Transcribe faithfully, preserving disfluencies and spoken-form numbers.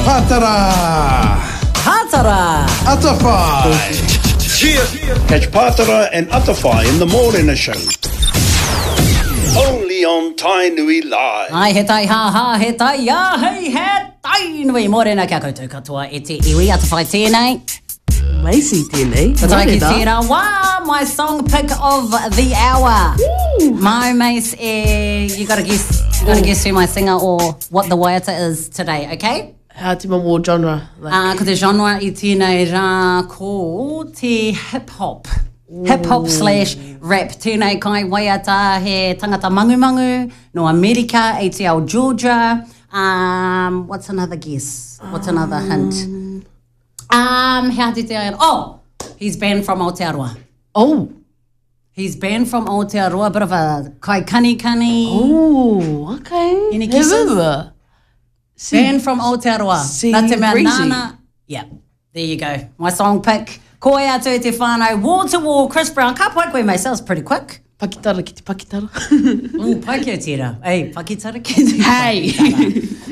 tēnei. Pātara! Pātara! Atawhai! Catch Pātara and Atawhai in the Morena Show. Only on Tainui Live. Ai, he tai hā hā, he tai ā hei, he tai nui. Mōrena kia koutou katoa e te iwi, Atawhai tēnei. Macy tēnei. Ko tai ki Mōrena. tērā wā, my song pick of the hour. Mau Mace, eh, you gotta guess, you gotta guess who my singer or what the waiata is today, okay? How te momo genre? Like, Uh, ko te genre i tēnei rā ko te hip-hop. Hip-hop slash rap. Tēnei kai waiata he tangata mangumangu no Amerika, A T L Georgia. Um, what's another guess? What's another hint? Um, he aha te te ai- Oh, he's banned from Aotearoa. Oh. He's banned from Aotearoa, bit of a kai kani kani. Oh, okay. Any guesses? Remember. Banned from Aotearoa. Sea Nā te mea Breezy. nāna. Yeah, there you go. My song pick. Ko e atu te whānau, wall to wall, Chris Brown. Ka pai koe, mate, sounds pretty quick. Pakitara ki te pakitara. Ooh, pai kia tērā. Ei, pakitara ki te Hey. pakitara.